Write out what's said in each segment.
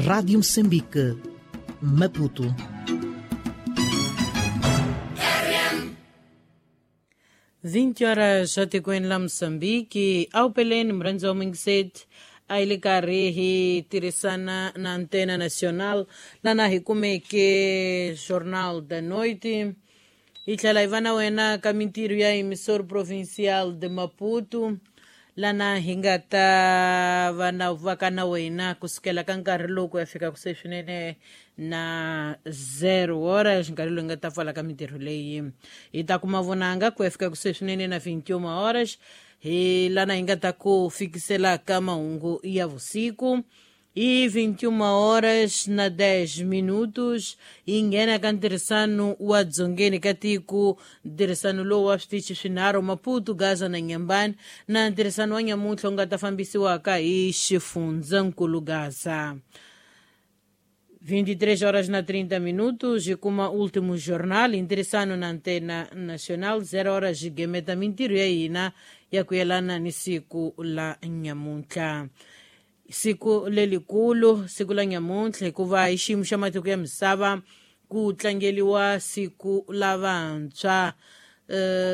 Rádio Moçambique, Maputo. 20 horas etikweni la Moçambique awupeleni murhandzi wa mingiseti a yi le karhi hi tirhisana na Antena Nacional lana hi kumeke Jornal da Noite hi tlhela hi va na wena ka mintirho ya emissor provincial de Maputo lana hi nga ta va na va ka na wena kusukela ka nkarhi lowu ku ya fika kuse swinene na 0 horas nkarhi lowu hi nga ta pfala ka mintirho leyi hi ta kuma vonanga ku ya fika kuse swinene na 21 horas hi lana hi nga ta ku fikisela ka mahungu ya vusiku hi 21 horas na 10 minutos hi nghena ka ntirhisano wa dzongeni ka tiko ntirhisano lowu wa switichi swinharhu Maputo, Gaza na Nyambani na ntirhisano wa nyamuntlha wu nga ta fambisiwaka hi xifundzankulu Gaza. 23 horas na 30 minutos e kuma último jornal interessando na Antena Nacional 0 horas gemeta mintirho ya hina ya ku yelana ni siku la nyamuntlha siku lelikulu siku la nyamuntlha hikuva hi xiyimo xa matiko ya misava ku tlangeliwa siku la vantshwa.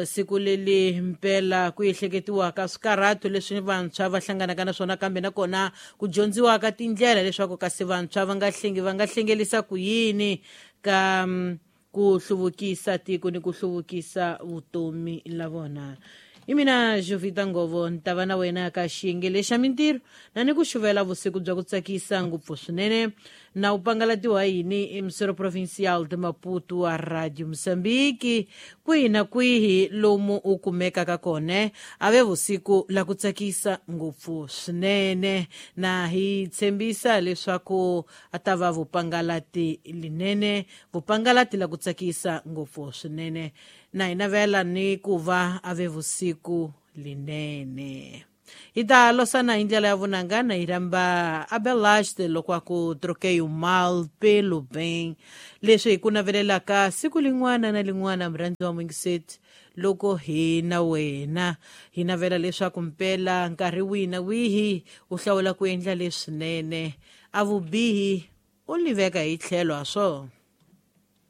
Siku leli mpela ku ehleketiwaka swikarhato leswi vantshwa va hlanganaka na swona kambe nakona ku dyondziwaka tindlela leswaku kasi vantshwa va nga hlengi va nga hlengelisa ku yini ka ku hluvukisa tiko ni ku hluvukisa vutomi la vona. Hi mina Jovita Ngovo ni ta va na wena ka xiyenge lexa mintirho na ni ku xuvela vusiku bya ku tsakisa ngopfu swinene na u pangalatiwa yini emisoro provincial de Maputo wa Radio Moçambique kwihi na kwihi lomu u kumekaka kona a ve vusiku la ku tsakisa ngopfu swinene na hi tshembisa leswaku a ta va vupangalati linene vupangalati la ku tsakisa ngopfu swinene na hi navela ni ku va a ve vusiku linene. Hi ta losana hi ndlela ya vunanga na hi rhamba Abelaste loko a ku troquei o mal pelo bem leswi hi ku navelelaka siku lin'wana na lin'wana murhandzi wa mwingiseti loko hi na wena hi navela leswaku mpela nkarhi wihi na wihi u hlawula ku endla leswinene a vubihi u liveka hi tlhelo ha swona.